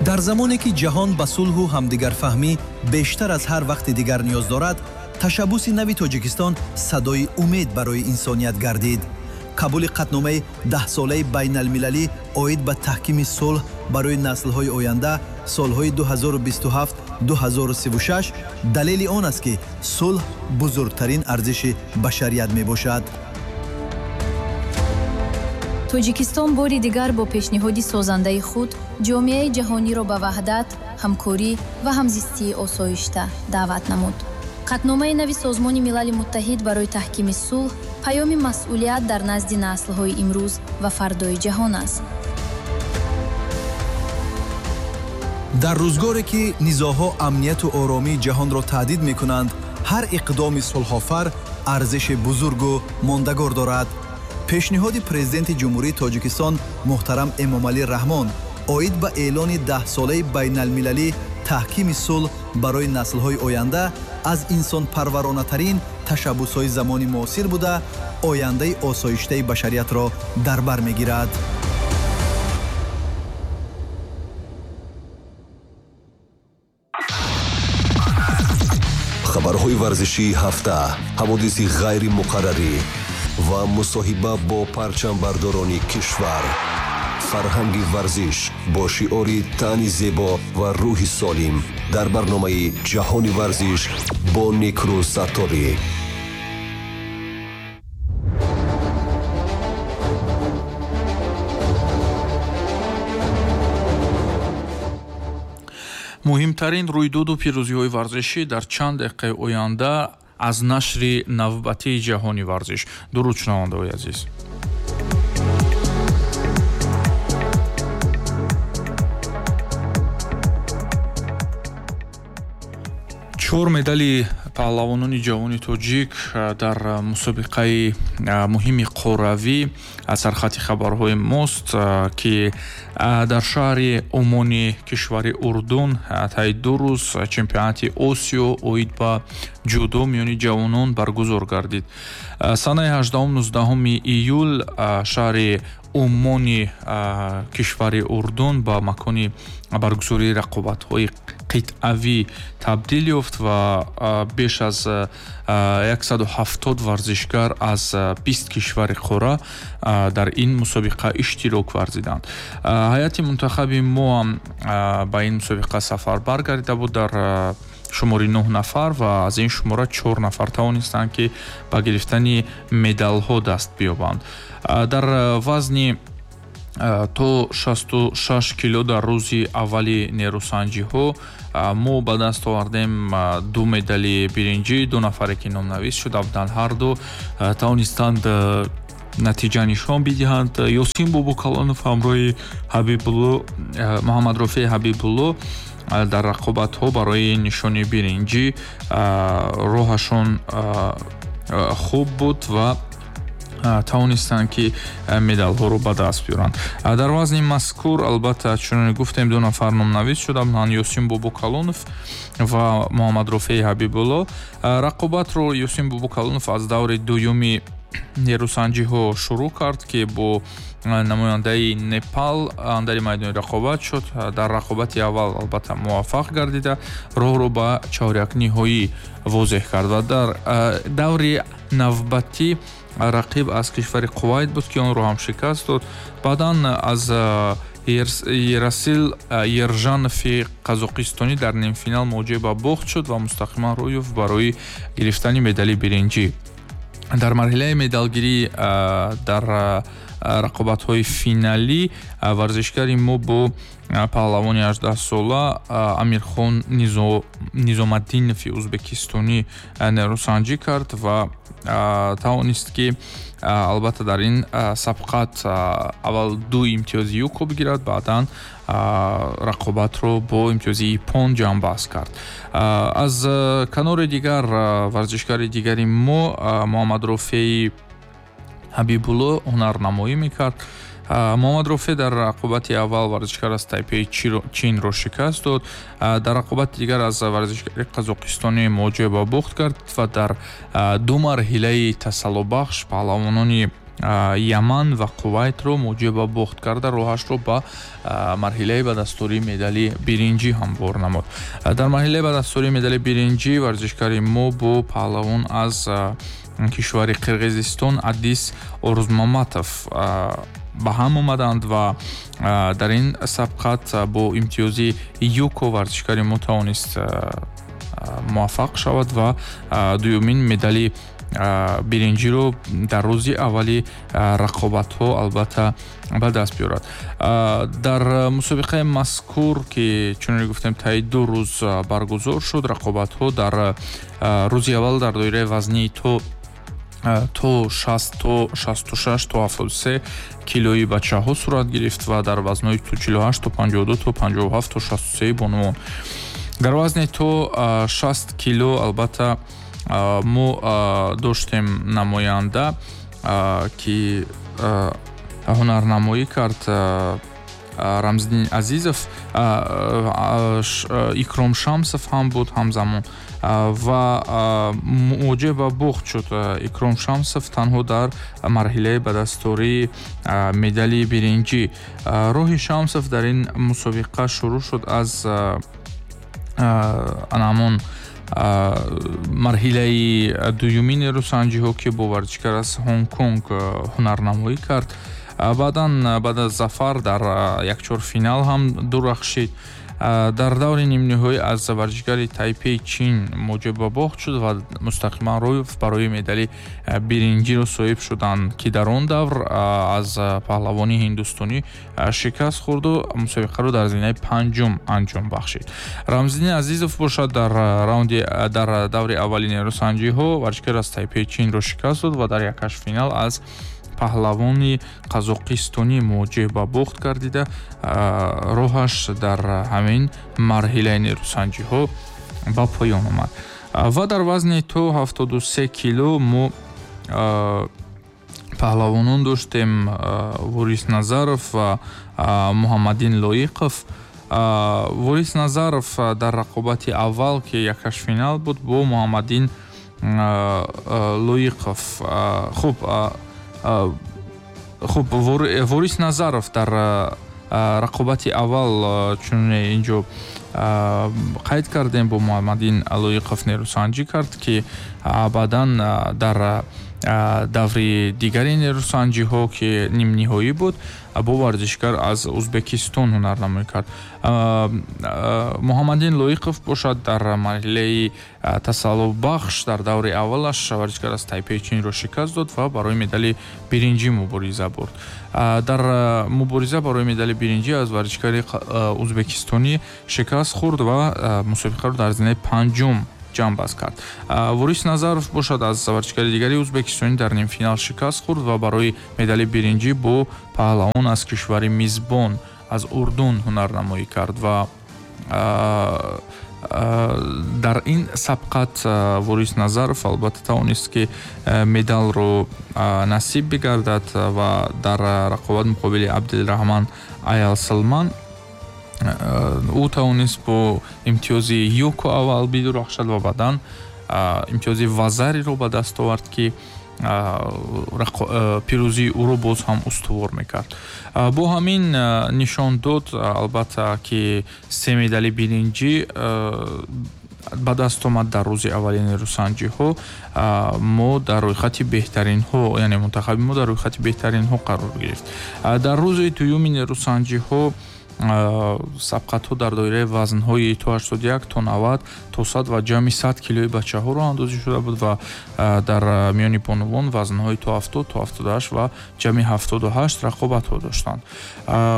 Дар замоне ки ҷаҳон ба сулҳу ҳамдигарфаҳмӣ бештар аз ҳар вақти дигар ниёз дорад, ташаббуси нави Тоҷикистон садои умед барои инсоният гардид. Қабули қатъномаи даҳсолаи байналмилалӣ оид ба таҳкими сулҳ барои наслҳои оянда солҳои 2027-2036 далели он аст, ки сулҳ бузургтарин арзиши башарият мебошад. Тоҷикистон бори дигар бо пешниҳоди созандаи худ ҷомеаи ҷаҳониро ба ваҳдат, ҳамкорӣ ва ҳамзистии осоишта даъват намуд. Қатъномаи нави Созмони Милали Муттаҳид барои таҳкими сулҳ паёми масъулият дар назди наслҳои имрӯз ва фардои ҷаҳон аст. Дар рӯзгоре ки низоъҳо амнияту оромии ҷаҳонро таҳдид мекунанд, ҳар иқдоми сулҳофар арзиши бузургу мондагор дорад. Пешниҳоди Президенти Ҷумҳурии Тоҷикистон муҳтарам Эмомалӣ Раҳмон оид ба эълони даҳсолаи байналмилалӣ таҳкими сулҳ барои наслҳои оянда аз инсонпарваронатарин ташаббусҳои замони муосир буда, ояндаи осоиштаи башариятро дар бар мегирад. Хабарҳои варзишии ҳафта, ҳаводиси ғайримуқаррарӣ ва мусоҳиба бо парчамбардорони кишвар. Фарҳанги варзиш бо шиори тани зебо ва рӯҳи солим дар барномаи Ҷаҳони варзиш бо Некрӯз Сатторӣ. Муҳимтарин рӯйдоду пирӯзиҳои варзишӣ дар чанд дақиқаи оянда аз нашри навбатии Ҷаҳони варзиш. Дуруд, шунавандаҳои азиз. Чор медали паҳлавонони ҷавони тоҷик дар мусобиқаи муҳими қорравӣ аз сархати хабарҳои мост, ки дар шаҳри Умони кишвари Урдун таи 2 рӯз чемпионати Осиё оид ба ҷудо миёни ҷавонон баргузор гардид. Санаи 18-19 июл шаҳри Умони кишвари Урдун ба макони баргузории рақобатҳои қитъавӣ табдил ёфт ва беш аз 170 варзишгар аз 20 кишвари қора дар ин мусобиқа иштирок варзиданд. Ҳайати мунтахаби мо ҳам ба ин мусобиқа сафар баргардида буд дар шумори 9 нафар ва аз ин шумора 4 нафар тавонистанд, ки ба гирифтани медалҳо даст биёбанд. Дар вазни то 66 кило дар рӯзи аввали нерӯсанҷиҳо мо ба даст овардем 2 медали биринҷӣ. 2 нафаре ки номнавис шуда буданд, ҳар ду тавонистанд натиҷа нишон бидиҳанд. Ёсин Бобокалонов ҳамроҳи Ҳабибулло Муҳаммадрофеи Ҳабибулло дар рақобатҳо барои нишони биринҷӣ роҳашон хуб буд ва тавонистанд, ки медалҳоро ба даст биёранд. Дар вазни мазкур албатта чуноне гуфтем, 2 нафар номнавис шуда буданд: Ёсин Бобокалонов ва Муҳаммадрофеи Ҳабибулло. Рақобатро Ёсин Бобокалонов аз даври дуюми нерӯсанҷиҳо шурӯъ кард, ки бо намояндаи Непал андари майдони рақобат шуд. Дар рақобати аввал албатта муваффақ гардида, роҳро ба чорякниҳоӣ возеҳ кард ва дар даври навбатӣ рақиб аз кишвари Кувайт буд, ки онро ҳам шикаст дод. Баъдан аз Ерасил Ержанови қазоқистонӣ дар нимфинал муоҷиҳа ба бохт шуд ва мустақиман рӯй ёфт барои гирифтани медали биринҷӣ. Дар марҳилаи медалгирӣ дар рақобатҳои финалӣ варзишгари мо бо паҳлавони 18-сола Амирхон Низомаддинови ӯзбекистонӣ нерӯсанҷӣ кард ва тавонист, ки албатта дар ин сабқат аввал 2 имтиёзи юко бигирад, баъдан рақобатро бо имтиёзи ипон ҷамъбаст кард. Аз канори дигар варзишгари дигари мо Муҳаммадрофеи Ҳабибулло ҳунарнамоӣ мекард. Муҳаммадрофе дар рақобати аввал варзишгар аз Тайпеи Чинро шикаст дод. Дар рақобати дигар аз варзишгари қазоқистонӣ муоҷиҳа ба бохт кард ва дар 2 марҳилаи тасаллобахш паҳлавонони Яман ва Кувайтро муҷиб ба бохт карда, роҳашро ба марҳилаи ба дастурии медали биринҷӣ ҳамвор намуд. Дар марҳилаи ба дастурии медали биринҷӣ варзишгари мо бо паҳлавон аз кишвари Қирғизистон Адис Орузмаматов ба ҳам омаданд ва дар ин сабқат бо имтиёзи юко варзишгари мо тавонист муваффақ шавад ва дуюмин медали биринҷиро дар рӯзи аввали рақобатҳо албатта ба даст биёрад. Дар мусобиқаи мазкур, ки чуноне гуфтем, таи 2 рӯз баргузор шуд, рақобатҳо дар рӯзи аввал дар доираи вазнии то 60 то 66 то 73 килои бачаҳо сурат гирифт ва дар вазнҳои то 48 то 52 то 57 то 63 бонувон. Дар вазни то 60 кило албатта мо доштем намоянда, ки ҳунарнамоӣ кард Рамзиддин Азизов, Икром Шамсов ҳам буд ҳамзамон ва муоҷиҳ ба бохт шуд Икром Шамсов танҳо дар марҳилаи ба дастурии медали биринҷӣ. Роҳи Шамсов дар ин мусобиқа шурӯъ шуд аз ҳамон марҳилаи дуюми нерӯсанҷиҳо, ки бо варзишгар аз Ҳонконг ҳунарнамоӣ кард. Баъдан баъд аз зафар дар якчорфинал ҳам дурахшид. Дар даври нимниҳоӣ аз варзишгари Тайпеи Чин муоҷиҳ ба бохт шуд ва мустақиман рӯй барои медали биринҷиро соҳиб шуданд, ки дар он давр аз паҳлавони ҳиндустонӣ шикаст хӯрду мусобиқаро дар зинаи панҷум анҷом бахшид. Рамзиддин Азизов бошад дар раунди дар даври аввали нерӯсанҷиҳо варзишгар аз Тайпеи Чинро шикаст дод ва дар якҳаштфинал аз паҳлавони қазоқистонӣ муоҷиҳ ба бохт гардида, роҳаш дар ҳамин марҳилаи нерӯсанҷиҳо ба поён омад. Ва дар вазни то 73 кило мо паҳлавонон доштем Ворис Назаров ва Муҳаммадин Лоиқов. Ворис Назаров дар рақобати аввал, ки якҳаштфинал буд, бо Муҳаммадин Лоиқов. Хуб, Ворис Назаров дар рақобати аввал, чуноне инҷо қайд кардем, бо Муҳаммадин Лоиқов нерӯсанҷӣ кард, ки баъдан дар даври дигари нерӯсанҷиҳо, ки нимниҳоӣ буд, бо варзишгар аз Ӯзбекистон ҳунарнамоӣ кард. Муҳаммадин Лоиқов бошад дар марҳилаи тасаллубахш дар даври аввалаш варзишгар аз Тайпеи Чинро шикаст дод ва барои медали биринҷӣ мубориза бурд. Дар мубориза барои медали биринҷӣ аз варзишгари ӯзбекистонӣ шикаст хӯрд ва мусобиқаро дар зинаи панҷум ҷамъбаст кард. Ворис Назаров бошад аз варзишгари дигари ӯзбекистонӣ дар нимфинал шикаст хӯрд ва барои медали биринҷӣ бо паҳлавон аз кишвари мизбон аз Урдун ҳунарнамоӣ кард ва дар ин сабқат Ворис Назаров албатта тавонист, ки медалро насиб бигардад ва дар рақобат муқобили Абдулраҳман Аялсалман ӯ тавонист бо имтиёзи юко аввал бидурахшад ва баъдан имтиёзи вазариро ба даст овард, ки пирӯзии ӯро боз ҳам устувор мекард. Бо ҳамин нишон дод албатта, ки се медали биринҷӣ ба даст омад дар рӯзи аввали нерӯсанҷиҳо. Мо дар рӯйхати беҳтаринҳо, яъне мунтахаби мо дар рӯйхати беҳтаринҳо қарор гирифт. Дар рӯзи дуюми нерӯсанҷиҳо сабқатҳо дар доираи вазнҳои то 81, то 90, то 100 ва ҷамъи 100 килои бачаҳо роҳандозӣ шуда буд ва дар миёни бонувон вазнҳои то 70, то 78 ва ҷамъи 78 рақобатҳо доштанд.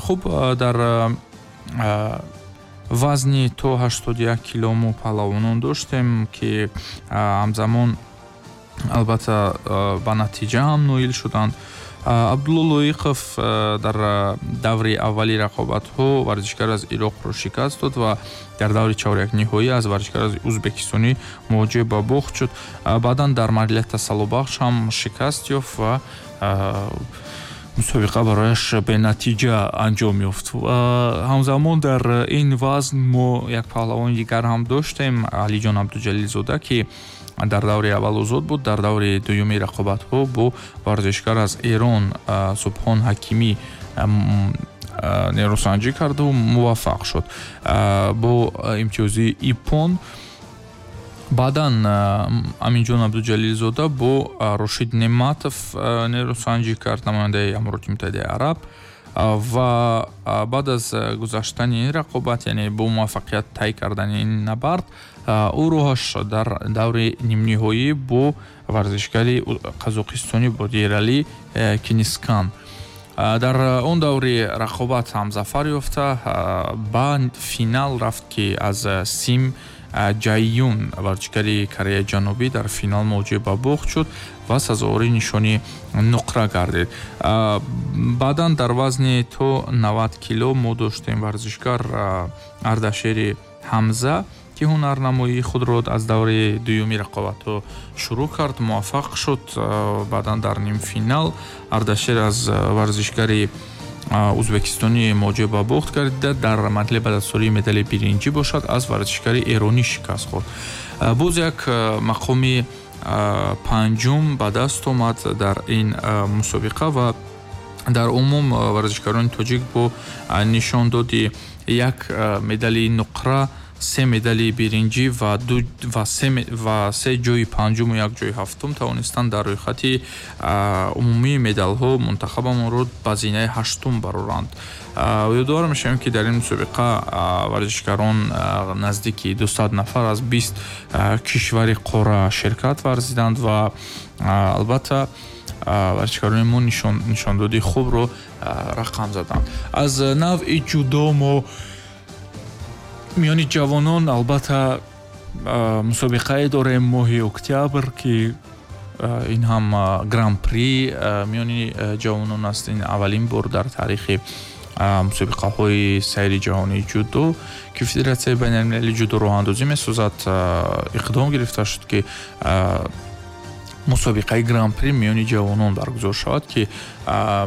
Хуб, дар вазни то 81 кило мо паҳлавонон доштем, ки ҳамзамон албатта ба натиҷа ҳам ноил шуданд. Абдулло Лоиқов дар даври аввали рақобатҳо варзишгар аз Ироқро шикаст дод ва дар даври чорякниҳоӣ аз варзишгар аз ӯзбекистонӣ муоҷиҳ ба бохт шуд. Баъдан дар марҳилаи тасаллубахш ҳам шикаст ёфт ва мусобиқа барояш бенатиҷа анҷом ёфт. Ҳамзамон дар ин вазн мо як паҳлавони дигар ҳам доштем, Алиҷон Абдуҷалилзода, ки Дар даври аввал озод буд, дар даври дуюми рақобатҳо бо варзишгар аз Эрон Субҳон Ҳакимӣ нерӯсанҷӣ карду муваффақ шуд бо имтиёзи иппон. Баъдан Аминҷон Абдуҷалилзода бо Рошид Нематов нерӯсанҷӣ кард, намояндаи Амороти Муттаҳидаи Араб, ва баъд аз гузаштани ин рақобат, яъне бо муваффақият тай кардани ин набард, ӯ роҳаш дар даври нимниҳоӣ бо варзишгари қазоқистонӣ буд, Ерали Кинискан. Дар он даври рақобат ҳам зафар ёфта, ба финал рафт, ки аз Сим Ҷайюн, варзишгари Кореяи Ҷанубӣ, дар финал мувоҷиҳ ба бохт шуд ва сазовори нишони нуқра гардид. Баъдан дар вазни то 90 кило мо доштем варзишгар Ардашери Ҳамза, ки ҳунарнамоии худро аз даври дуюми рақобатҳо шурӯъ кард, муваффақ шуд. Баъдан дар нимфинал Ардашер аз варзишгари ӯзбекистонӣ мувоҷиҳ ба бохт гардида, дар марҳилаи ба дастоварии медали биринҷӣ бошад, аз варзишгари эронӣ шикаст хӯрд. Боз як мақоми панҷум ба даст омад дар ин мусобиқа ва дар умум варзишгарони тоҷик бо нишондоди як медали нуқра, се медали биринҷӣ ва се ҷои панҷуму як ҷои ҳафтум тавонистанд дар рӯйхати умумии медалҳо мунтахабамонро ба зинаи ҳаштум бароранд. Ёдовар мешавем, ки дар ин мусобиқа варзишгарон наздики 200 нафар аз 20 кишвари қора ширкат варзиданд ва албатта варзишгарони мо нишондоди хубро рақам заданд. Аз навъи ҷудо мо миёни ҷавонон албатта мусобиқае дорем моҳи октябр, ки ин ҳам гран-при миёни ҷавонон аст. Ин аввалин бор дар таърихи мусобиқаҳои сайри ҷаҳонии ҷудо, ки Федератсияи байналмилалии ҷудо роҳандозӣ месозад, иқдом гирифта шуд, ки мусобиқаи гран-при миёни ҷавонон баргузор шавад, ки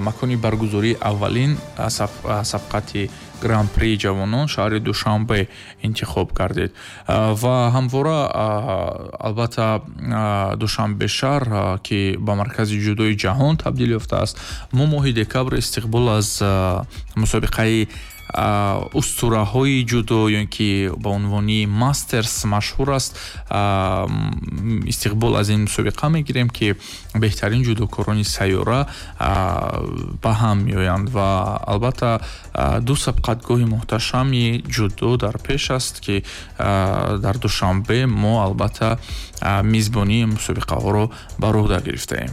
макони баргузории аввалин сабқати гран-при ҷавонон шаҳри Душанбе интихоб гардид. Ва ҳамвора албатта Душанбе шаҳр, ки ба маркази ҷудои ҷаҳон табдил ёфтааст, мо моҳи декабр истиқбол аз мусобиқаи устураҳои ҷудо, ё ин ки ба унвони мастерс машҳур аст, истиқбол аз ин мусобиқа мегирем, ки беҳтарин ҷудокорони сайёра ба ҳам меоянд ва албатта ду сабқатгоҳи муҳташами ҷудо дар пеш аст, ки дар Душанбе мо албатта мизбонии мусобиқаҳоро ба роҳ гирифтаем.